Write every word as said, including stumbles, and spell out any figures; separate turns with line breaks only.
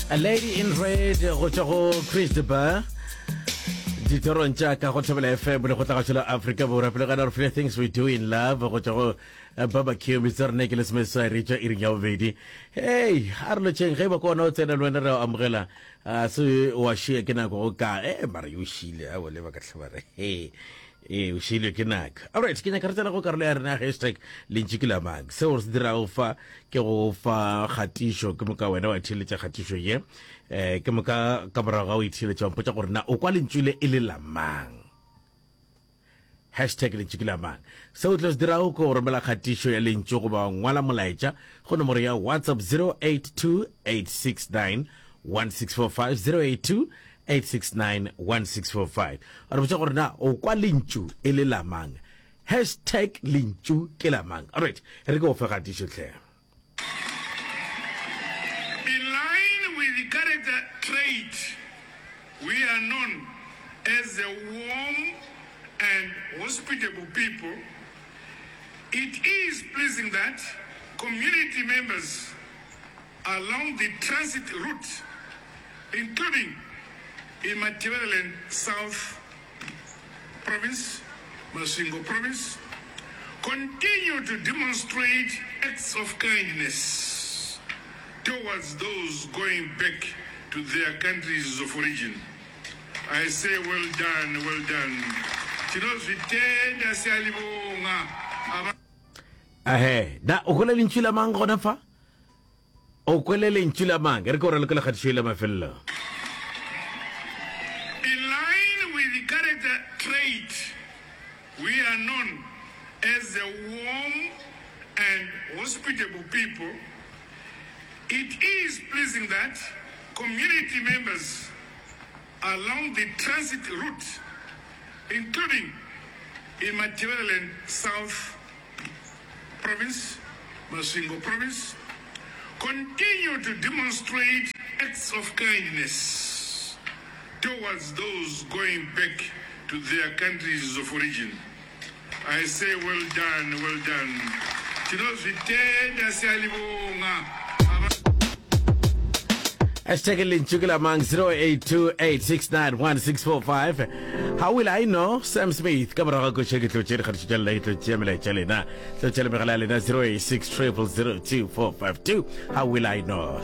A Lady in Red go tšwa go Chris de Burgh ditorong tša ka go Thobela F M le go tla la Afrika Borwa. Pele gana re file Things We Do in Love go tšwa go eh, Barbecue. Metsotso rene ke lesomeseswai re tšwa iring ya bobedi. Hey, a re lotšheng. Ge e ba ke ona o tsena le wena, re a amogela. A se wa šia ke nako go ka e mara yo šile a bole ba ka tlhaba re he ee, o šilwe ke nako. Alright, ke nyaka re tsena go karolo ya rena ya hashtag lentšu ke la mang. Seo re se dirago fa ke go fa kgatišo, ke moka wena wa theeletša kgatišo ye, um ke moka ka morago ga o itheeletša wa mpotša gore na o kwa lentšu le e le la mang. Hashtag lentšu ke la mang. Seo o tlo se dirago ke go romela kgatišo ya lentšu goba ngwala molaetša go nomoro ya WhatsApp zero eight two, eight six nine, one six four five, zero eight two eight six nine one six four five. Re botša gore na o kwa lentšu e le la mang. Hashtag lentšu ke la mang. Alright, re ke o fe kgatišo tlhe.
In line with the character trait, we are known as a warm and hospitable people. It is pleasing that community members along the transit route, including in Matabeleland South Province, Masvingo Province, continue to demonstrate acts of kindness towards those going back to their countries of origin. I say well done, well done. Tinozvitenda, siyalibonga. Aba-
Ahe, na o kwele lentšu la mang gona fa? O kwele lentšu la mang? Re ke o ralokela kgatišo e la mafelelo.
In line with the character trait, we are known as a warm and hospitable people. It is pleasing that community members along the transit route, including in Matabeleland South Province, Masvingo Province, continue to demonstrate acts of kindness towards those going back to their countries of origin. I say well done, well done. Tinozvitenda, siyalibonga. Aba-
Hashtag lentšu ke la mang, zero eight two, eight six nine, one six four five. How Will I Know, Sam Smith. Ka morago ga koša ke tlo tše dikgatišo tša lena, ke tlo tšea melaetša lena, tlo tšea le megala ya lena, zero eight six, triple zero two four five two. How Will I Know.